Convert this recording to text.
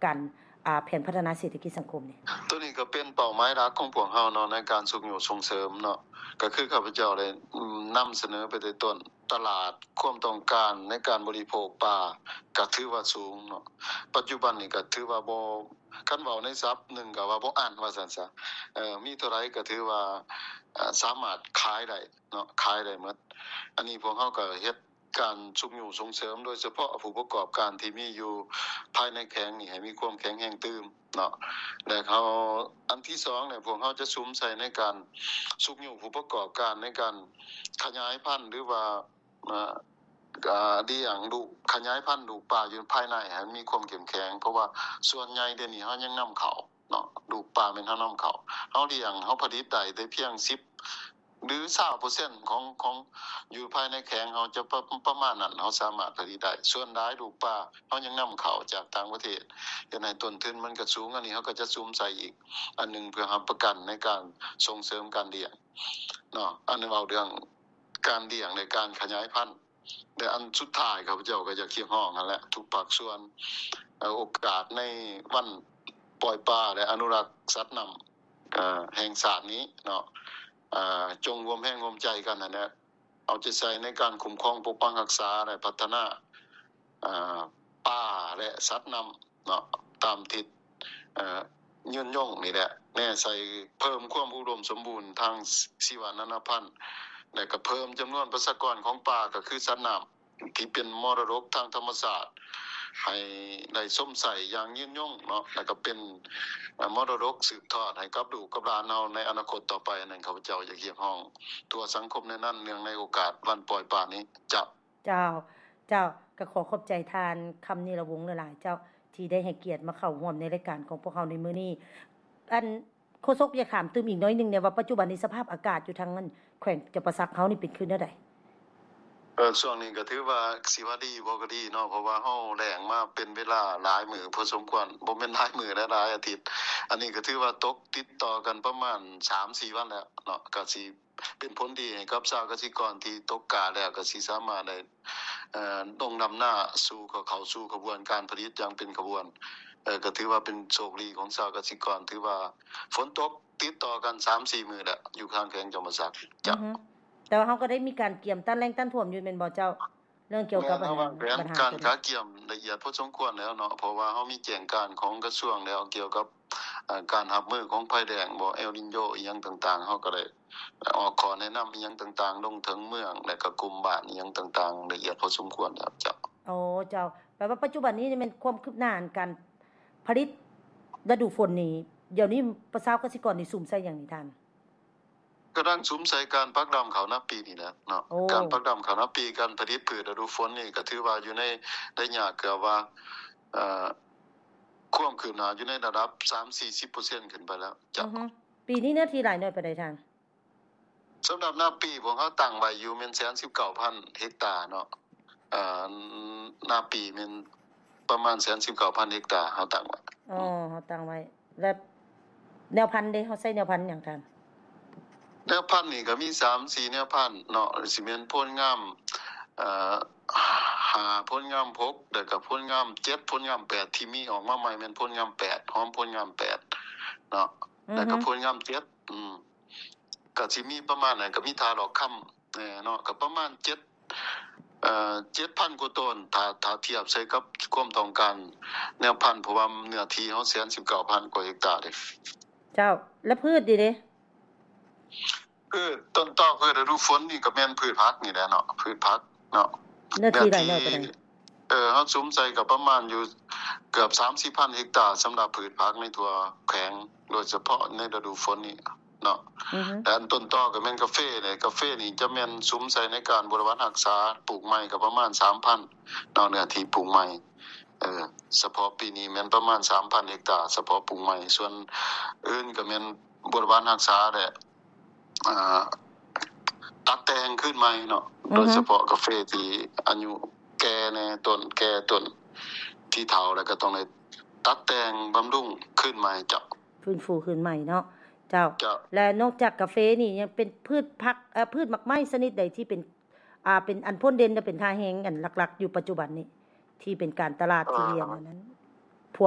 ການ ອ່າ ແຜນພັດທະນາເສດຖະກິດສັງຄົມນີ້? ໂຕນີ້ກໍເປັນເປົ້າໝາຍຫຼັກຂອງພວກເຮົາເນາະ ໃນການຊຸກຍູ້ສົ່ງເສີມເນາະ ກໍຄືຂ້າພະເຈົ້າໄດ້ ອືມ ນຳສະເໜີໄປແຕ່ຕົ້ນ ຕະຫຼາດຄວາມຕ້ອງການໃນການບໍລິໂພກປາກໍຖືວ່າສູງເນາະ. ປັດຈຸບັນນີ້ກໍຖືວ່າບໍ່ ຄັນເວົ້າໃນສັບໜຶ່ງກໍວ່າບໍ່ອັ້ນວ່າຊັ້ນຊະ ເອີ ມີເທົ່າໃດກໍຖືວ່າ ເອີ ສາມາດຂາຍໄດ້ເນາະ ຂາຍໄດ້ໝົດ. ອັນນີ້ພວກເຮົາກໍເຮັດ ການຊຸກຍູ້ສົ່ງເສີມ ໂດຍສະເພາະຜູ້ປະກອບການທີ່ມີຢູ່ພາຍໃນແຂວງນີ້ໃຫ້ມີຄວາມແຂງແຮງຕື່ມເນາະ ແລະ ເຮົາ ອັນທີສອງນີ້ ພວກເຮົາຈະສຸມໃສ່ໃນການຊຸກຍູ້ຜູ້ປະກອບການໃນການຂະຫຍາຍພັນ ຫຼືວ່າ ເອີ ອ່າ ລ້ຽງລູກ ຂະຫຍາຍພັນລູກປາຢູ່ພາຍໃນໃຫ້ມີຄວາມເຂັ້ມແຂງ ເພາະວ່າສ່ວນໃຫຍ່ດຽວນີ້ເຮົາຍັງນຳເຂົ້າ ເນາະ ລູກປາແມ່ນເຮົານຳເຂົ້າ ເຮົາລ້ຽງ ເຮົາຜະລິດໄດ້ແຕ່ພຽງສິບ ຫຼື ຊາວເປີເຊັນຂອງ ຂອງຢູ່ພາຍໃນແຂວງເຮົາຈະປະ ປະມານນັ້ນ ເຮົາສາມາດຜະລິດໄດ້. ສ່ວນຫຼາຍລູກປາເຮົາຍັງນຳເຂົ້າຈາກຕ່າງປະເທດ ເຮັດໃຫ້ຕົ້ນທຶນມັນກະສູງ. ອັນນີ້ເຮົາກໍຈະສຸມໃສ່ອີກອັນໜຶ່ງ ເພື່ອຮັບປະກັນໃນການສົ່ງເສີມການລ້ຽງເນາະ. ອັນນີ້ເວົ້າເລື່ອງການລ້ຽງ ແລະ ການຂະຫຍາຍພັນ. ແລະ ອັນສຸດທ້າຍ ຂ້າພະເຈົ້າກໍຢາກຮຽກຮ້ອງຫັ້ນແຫຼະ ທຸກພາກສ່ວນ ເອີ ໂອກາດໃນວັນປ່ອຍປາ ແລະ ອະນຸລັກສັດນ້ຳ ເອີ ແຫ່ງຊາດນີ້ເນາະ ເອີ ຈົ່ງຮ່ວມແຮງຮ່ວມໃຈກັນຫັ້ນແຫຼະ ເອົາໃຈໃສ່ໃນການຄຸ້ມຄອງປົກປັກຮັກສາ ແລະ ພັດທະນາ ເອີ ປາ ແລະ ສັດນ້ຳ ເນາະ ຕາມທິດ ເອີ ຍືນຍົງນີ້ແຫຼະ ແນໃສ່ເພີ່ມຄວາມອຸດົມສົມບູນທາງຊີວະນານາພັນ ແລະ ກະເພີ່ມຈຳນວນປະຊາກອນຂອງປາ ກະຄືສັດນ້ຳທີ່ເປັນມໍລະດົກທາງທຳມະຊາດ ໃຫ້ໄດ້ຊົມໃຊ້ຢ່າງຍືນຍົງເນາະ ແລະ ກະເປັນ ເອີ ມໍລະດົກສືບທອດໃຫ້ກັບລູກກັບຫຼານເຮົາໃນອະນາຄົດຕໍ່ໄປ. ອັນນັ້ນ ຂ້າພະເຈົ້າຢາກຮຽກຮ້ອງທົ່ວສັງຄົມແນວນັ້ນ ເນື່ອງໃນໂອກາດວັນປ່ອຍປານີ້. ເຈົ້າ. ເຈົ້າ, ເຈົ້າ, ກໍຂໍຂອບໃຈທ່ານ ຄຳນິລະວົງ ຫຼາຍໆ ເຈົ້າ ທີ່ໄດ້ໃຫ້ກຽດມາເຂົ້າຮ່ວມໃນລາຍການຂອງພວກເຮົາໃນມື້ນີ້. ອັນ ໂຄສົກ ຢາກຖາມຕື່ມອີກໜ້ອຍໜຶ່ງແດ່ວ່າ ປັດຈຸບັນນີ້ສະພາບອາກາດຢູ່ທາງ ອັນ ແຂວງຈຳປາສັກເຮົານີ້ເປັນຄືແນວໃດ? ເອີ ຊ່ວງນີ້ກໍຖືວ່າຊິວ່າດີບໍ່ກໍດີເນາະ ເພາະວ່າເຮົາແລ້ງມາເປັນເວລາຫຼາຍມື້ພໍສົມຄວນ ບໍ່ແມ່ນຫຼາຍມື້ແຫຼະ ຫຼາຍອາທິດ. ອັນນີ້ກໍຖືວ່າຕົກຕິດຕໍ່ກັນປະມານສາມສີ່ວັນແລ້ວເນາະ ກໍຊິ ເປັນຜົນດີໃຫ້ກັບຊາວກະສິກອນທີ່ຕົກກ້າແລ້ວ ກໍຊິສາມາດໄດ້ ເອີ ລົງດຳນາສູ່ ເຂົ້າສູ່ຂະບວນການຜະລິດຢ່າງເປັນຂະບວນ. ເອີ ກໍຖືວ່າເປັນໂຊກດີຂອງຊາວກະສິກອນ ຖືວ່າຝົນຕົກຕິດຕໍ່ກັນສາມສີ່ມື້ແລ້ວ ຢູ່ທາງແຂວງຈຳປາສັກ. ເຈົ້າ. ອືຮຶ. ແຕ່ວ່າເຮົາກໍໄດ້ມີການກຽມຕ້ານແລ້ງຕ້ານຖ້ວມຢູ່ແມ່ນບໍ່ເຈົ້າ? ເລື່ອງກ່ຽວກັບ ແມ່ນ ອັນ ເຮົາວາງແຜນການກະກຽມລະອຽດພໍສົມຄວນແລ້ວເນາະ ເພາະວ່າເຮົາມີແຈ້ງການຂອງກະຊວງແລ້ວ ກ່ຽວກັບ ເອີ ການຮັບມືຂອງໄພແລ້ງບໍ ເອລນິນໂຍ ອີ່ຫຍັງຕ່າງໆ ເຮົາກໍໄດ້ອອກຂໍ້ແນະນຳອີ່ຫຍັງຕ່າງໆ ລົງເຖິງເມືອງ ແລະ ກະກຸ່ມບ້ານອີ່ຫຍັງຕ່າງໆ ລະອຽດພໍສົມຄວນແລ້ວ. ເຈົ້າ. ໂອ້ ເຈົ້າ. ແປວ່າປັດຈຸບັນນີ້ແມ່ນຄວາມຄືບໜ້າອັນການຜະລິດລະດູຝົນນີ້ ດຽວນີ້ຊາວກະສິກອນນີ້ສຸມໃສ່ຫຍັງນີ້ທ່ານ? ກຳລັງສຸມໃສ່ການປັກດຳເຂົ້ານາປີນີ້ແຫຼະເນາະ. ໂອ້ ການປັກດຳເຂົ້ານາປີ ການຜະລິດພືດລະດູຝົນນີ້ ກໍຖືວ່າຢູ່ໃນໄລຍະເກືອບວ່າ ເອີ ຄວາມຄືບໜ້າຢູ່ໃນລະດັບສາມສີ່ສິບເປີເຊັນຂຶ້ນໄປແລ້ວ. ເຈົ້າ. ອືຮຶ. ປີນີ້ເນື້ອທີ່ຫຼາຍໜ້ອຍປານໃດທ່ານ? ສຳລັບນາປີ ພວກເຮົາຕັ້ງໄວ້ຢູ່ແມ່ນແສນສິບເກົ້າພັນເຮັກຕາເນາະ. ເອີ ນາປີແມ່ນປະມານແສນສິບເກົ້າພັນເຮັກຕາ ເຮົາຕັ້ງໄວ້. ອໍ ເຮົາຕັ້ງໄວ້. ແລ້ວແນວພັນເດ ເຮົາໃຊ້ແນວພັນຫຍັງທ່ານ? ແນວພັນນີ້ກໍມີສາມສີ່ແນວພັນເນາະ ຊິແມ່ນໂພນງາມ ເອີ ຫ້າ ໂພນງາມຫົກ ແລ້ວກໍໂພນງາມເຈັດ ໂພນງາມແປດ ທີ່ມີອອກມາໃໝ່ແມ່ນໂພນງາມແປດ ຫອມໂພນງາມແປດເນາະ. ອືຮຶ. ແລ້ວກໍໂພນງາມເຈັດ ອືມ ກໍຊິມີປະມານນັ້ນ ກໍມີທ່າຫຼອກຄຳແດ່ເນາະ ກໍປະມານເຈັດ ເອີ ເຈັດພັນກວ່າໂຕນ ຖ້າ ຖ້າທຽບໃສ່ກັບຄວາມຕ້ອງການແນວພັນ ເພາະວ່າເນື້ອທີ່ເຮົາແສນສິບເກົ້າພັນກວ່າເຮັກຕາເດ້. ເຈົ້າ. ແລະພືດນີ້ເດ? ພືດຕົ້ນຕໍ ພືດລະດູຝົນນີ້ກໍແມ່ນພືດຜັກນີ້ແຫຼະເນາະ ພືດຜັກເນາະ. ເນື້ອທີ່ຫຼາຍໜ້ອຍປານໃດ? ເອີ ເຮົາສຸມໃສ່ກໍປະມານຢູ່ເກືອບສາມສິບພັນເຮັກຕາ ສຳລັບພືດຜັກໃນທົ່ວແຂວງ ໂດຍສະເພາະໃນລະດູຝົນນີ້ເນາະ. ອືຮຶ. ແລະອັນຕົ້ນຕໍກໍແມ່ນກາເຟເດ ກາເຟນີ້ຈະແມ່ນສຸມໃສ່ໃນການບົວລະວັດຮັກສາ ປູກໃໝ່ກໍປະມານສາມພັນເນາະ ເນື້ອທີ່ປູກໃໝ່. ເອີ ສະເພາະປີນີ້ແມ່ນປະມານສາມພັນເຮັກຕາ ສະເພາະປູກໃໝ່ ສ່ວນອື່ນກໍແມ່ນບົວລະວັດຮັກສາແຫຼະ ອ່າ ຕັດແຕ່ງຄືນໃໝ່ເນາະ. ອືຮຶ. ໂດຍສະເພາະກາເຟທີ່ອາຍຸແກ່ແດ່ ຕົ້ນແກ່ ຕົ້ນທີ່ເຖົ້າແລ້ວ ກໍຕ້ອງໄດ້ຕັດແຕ່ງບຳລຸງຄືນໃໝ່. ເຈົ້າ. ຟື້ນຟູຄືນໃໝ່ເນາະ. ເຈົ້າ. ເຈົ້າ. ແລະນອກຈາກກາເຟນີ້ ຍັງເປັນພືດຜັກ ເອີ ພືດໝາກໄມ້ຊະນິດໃດທີ່ເປັນ ອ່າ ເປັນອັນພົ້ນເດັ່ນ ແລະເປັນທ່າແຮງອັນຫຼັກໆຢູ່ປັດຈຸບັນນີ້ ທີ່ເປັນການຕະຫຼາດທີ່ລ້ຽງອັນນັ້ນ?